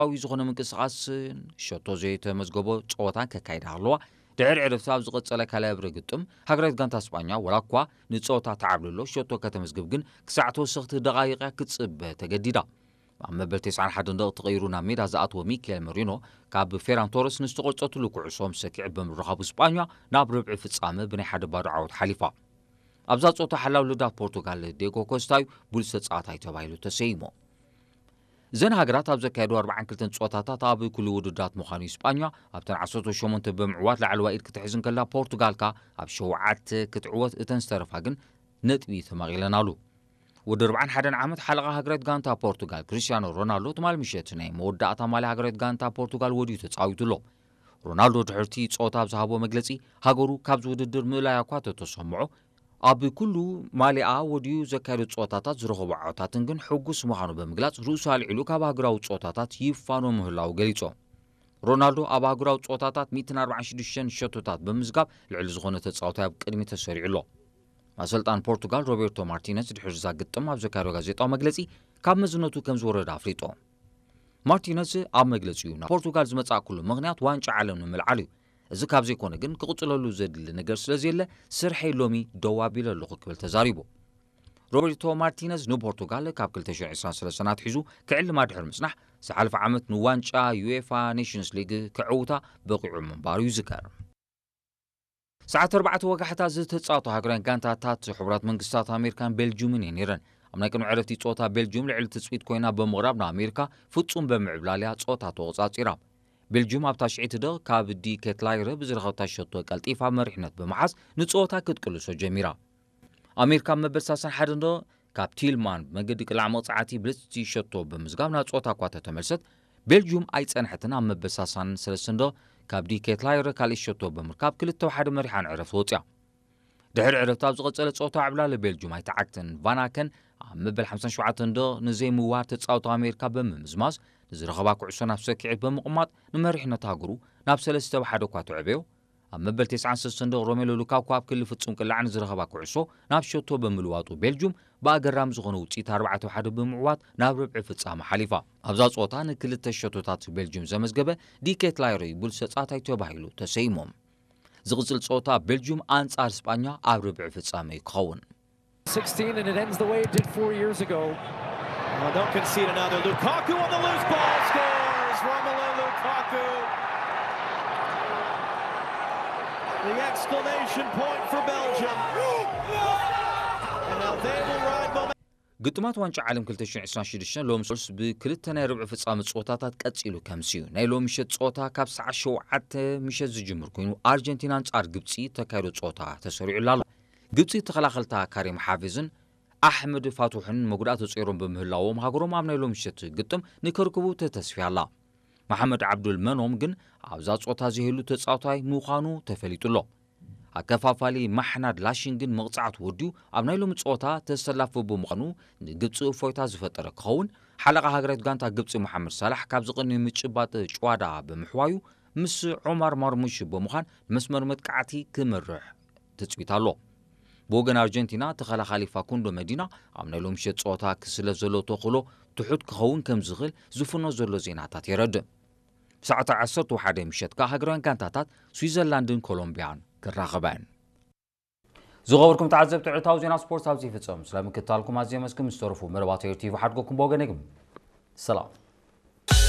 ውድባዊ ዝኾነ ምንቅስቓስን ሸቶ ዘይተመዝገቦ ጸወታን ከካይዳ ኣለዋ። ድሕሪ ዕረፍቲ ኣብ ዝቐጸለ ካልኣይ እብረ ግጥም፣ ሃገራዊት ጋንታ ስጳኛ፣ ወላ እኳ ንጸወታ ተዓብልሎ፣ ሸቶ ከተመዝግብ ግን ክሳዕ ተወሰኽቲ ደቓይቕ ክትጽበ ተገዲዳ። ኣብ መበል ተስዓን ሓደን ደቂቕ ተቐይሩ ናብ ሜዳ ዝኣተወ ሚካኤል መሪኖ፣ ካብ ፌራን ቶረስ ንዝተቖርጸትሉ ኩዕሶ ምስ ሰኪዐ ብምርኻቡ፣ ስጳኛ ናብ ርብዒ ፍጻመ ብናይ ሓደ ባዶ ዓወት ሓሊፋ። ኣብዛ ጸወታ ሓላው ልዳት ፖርቱጋል ዲየጎ ኮስታ እዩ ብሉጽ ተጻዋታይ ተባሂሉ ተሰይሙ። እዘን ሃገራት ኣብ ዘካየዱ ኣርባዓን ክልተን ጸወታታት ኣብ ኩሉ ውድድራት ምዃኑ እዩ። ስጳኛ ኣብተን ዓሰርተ ሸሞንተ ብምዕዋት ላዕለዋይ ኢድ ክትሕዝ እንከላ፣ ፖርቱጋል ከኣ ኣብ ሸውዓተ ክትዕወት፣ እተን ዝተረፋ ግን ነጥቢ ተማቒለናሉ። ወዲ ኣርባዓን ሓደን ዓመት ሓለቓ ሃገራዊት ጋንታ ፖርቱጋል ክሪስቲያኖ ሮናልዶ ትማል ምሸት ናይ መወዳእታ ማልያ ሃገራዊት ጋንታ ፖርቱጋል ወድዩ ተጻዊቱ ኣሎ። ሮናልዶ ድሕርቲ ጸወታ ኣብ ዝሃቦ መግለጺ፣ ሃገሩ ካብዚ ውድድር ምእላያ እኳ ተተሰምዖ፣ ኣብ ኩሉ ማልያኣ ወድዩ ዘካየዶ ጸወታታት ዝረኸቦ ዓወታትን ግን ሕጉስ ምዃኑ ብምግላጽ፣ ርእሱ ኣልዒሉ ካብ ሃገራዊ ጸወታታት ይፋኖ ምህላዉ ገሊጹ። ሮናልዶ ኣብ ኣህጉራዊ ጸወታታት ሚእትን ኣርባዓን ሽዱሽተን ሸቶታት ብምዝጋብ፣ ልዕሊ ዝኾነ ተጻዋታይ ኣብ ቅድሚ ተሰሪዑ ኣሎ። ኣሰልጣን ፖርቱጋል ሮቤርቶ ማርቲነዝ ድሕሪ እዛ ግጥም ኣብ ዘካየዶ ጋዜጣዊ መግለጺ፣ ካብ መዝነቱ ከም ዝወረደ ኣፍሊጡ። ማርቲነዝ ኣብ መግለጺኡ፣ ናብ ፖርቱጋል ዝመጻእኩሉ ምኽንያት ዋንጫ ዓለም ንምልዓል እዩ። እዚ ካብ ዘይኮነ ግን ክቕጽለሉ ዘድሊ ነገር ስለ ዘየለ፣ ስርሐይ ሎሚ ደው ኣቢለ ኣለኹ ክብል ተዛሪቡ። ሮቤርቶ ማርቲነዝ ንፖርቱጋል ካብ ክልተ ሽሕን ዕስራን ሰለስተን ኣትሒዙ ክዕልማ ድሕሪ ምጽናሕ፣ ዝሓለፈ ዓመት ንዋንጫ ዩኤፋ ኔሽንስ ሊግ ክዕውታ በቒዑ ምንባሩ ይዝከር። ሰዓት ኣርባዕተ ወጋሕታ ዝተጻወቱ ሃገራውያን ጋንታታት ሕቡራት መንግስታት ኣሜሪካን ቤልጅዩምን እየን ነይረን። ኣብ ናይ ቅድሚ ዕረፍቲ ጸወታ፣ ቤልጅዩም ልዕሊ ትጽቢት ኮይና ብምቕራብ፣ ንኣሜሪካ ፍጹም ብምዕብላልያ ጸወታ ተቖጻጺራ። ቤልጅዩም ኣብታ ሽዒት ደቕ ካብ ዲ ኬትላይረ ብዝረኸብታ ሸቶ ቀልጢፋ መሪሕነት ብምሓዝ ንጸወታ ክትቅልሶ ጀሚራ። ኣሜሪካ ኣብ መበል ሰላሳን ሓደን ደቕ ካብ ቲልማን ብመገዲ ቅላዕ መቕጻዕቲ ብልጽቲ ሸቶ ብምዝጋብ ናብ ጸወታ እኳ ተተመልሰት፣ ቤልጅዩም ኣይጸንሐትን። ኣብ መበል ሰላሳን ሰለስተን ደቕ ካብ ዲ ኬትላይረ ካልእ ሸቶ ብምርካብ ክልተ ብሓደ መሪሓ ንዕረፍቲ ወጽያ። ድሕሪ ዕረፍቲ ኣብ ዝቐጸለ ጸወታ ዕብላሊ ቤልጅዩም ኣይተዓግተን። ቫን ኣከን ኣብ መበል ሓምሳን ሸውዓተን ደቕ ንዘይምውሃር ተጻወቲ ኣሜሪካ ብምምዝማዝ፣ ንዝረኸባ ኩዕሶ ናብ ሰኪዔት ብምቕማጥ ንመሪሕነት ሃገሩ ናብ ሰለስተ ብሓደ እኳ ተዕበዮ። ኣብ መበል ተስዓን ሰለስተን ደቕ ሮሜሎ ሉካኩ ኣብ ክሊ ፍጹም ቅላዕ ንዝረኸባ ኩዕሶ ናብ ሸቶ ብምልዋጡ፣ ቤልጅዩም ብኣገራሚ ዝኾነ ውጽኢት ኣርባዕተ ብሓደ ብምዕዋት ናብ ርብዒ ፍጻመ ሓሊፋ። ኣብዛ ጸወታ ንክልተ ሸቶታት ቤልጅዩም ዘመዝገበ ዲ ኬትላይረ እዩ ብሉጽ ተጻዋታይ ተባሂሉ ተሰይሙ። ዝቕጽል ጸወታ ቤልጅዩም ኣንጻር ስጳኛ ኣብ ርብዒ ፍጻመ እዩ ክኸውን። sixteen, and it ends the way it did four years ago. Oh, don't concede another. Lukaku on the loose ball scores. Romelu Lukaku. The exclamation point for Belgium. And now they will ride momentum. ግጥማት ዋንጫ ዓለም ክልተ ሽሕን ዕስራን ሽዱሽተን ሎሚ ሰሉስ ብክልተ ናይ ርብዒ ፍጻመ ጸወታታት ቀጺሉ ከምሲ እዩ። ናይ ሎሚ ምሸት ጸወታ ካብ ሰዓት ሸውዓተ ምሸት ዝጅምር ኮይኑ፣ ኣርጀንቲና ኣንጻር ግብጺ ተካይዶ ጸወታ ተሰሪዑላ ኣሎ። ግብጺ ተኸላኸልታ ካሪም ሓፊዝን ኣሕመድ ፋቱሕን መጉዳእቲ ጾይሮም ብምህላዎም፣ ሃገሮም ኣብ ናይ ሎሚ ምሸት ግጥም ንክርክቡ ተተስፍያ ኣላ። መሓመድ ዓብዱል መኖም ግን ኣብዛ ጾታ ዘይህሉ ተጻዋታይ ምዃኑ ተፈሊጡ ኣሎ። ኣከፋፋሊ ማሕናድ ላሽን ግን መቕጻዕቲ ወዲኡ ኣብ ናይ ሎሚ ጸወታ ተሰላፊ ብምዃኑ፣ ንግብጺ እፎይታ ዝፈጠረ ክኸውን። ሓለቓ ሃገራዊት ጋንታ ግብጺ መሓመድ ሳላሕ ካብዚ ቅድሚ ምጭባጥ ጭዋዳ ብምሕዋዩ፣ ምስ ዑማር ማርሙሽ ብምዃን ንመስመር መጥቃዕቲ ክመርሕ ትጽቢት ኣሎ። ብወገን ኣርጀንቲና፣ ተኸላኻሊ ፋኩንዶ መዲና ኣብ ናይ ሎሚ ምሸት ጸወታ ክስለፍ ዘሎ ተኽእሎ ትሑት ክኸውን ከም ዝኽእል ዝፍኖ ዘሎ ዜናታት የረድእ። ብሰዓት ዓሰርተ ሓደ ምሸት ከኣ ሃገራውያን ጋንታታት ስዊዘርላንድን ኮሎምቢያን ክራኸባ እየን። ዝኸበርኩም ተዓዘብቲ፣ ዕለታዊ ዜና ስፖርት ኣብዚ ይፍጸም። ስለ ምክትታልኩም ኣዝየ መስግን። ምስ ተረፉ መደባት ኤር ቲቪ ሓድጎኩም ብወገነይ ግን ሰላም።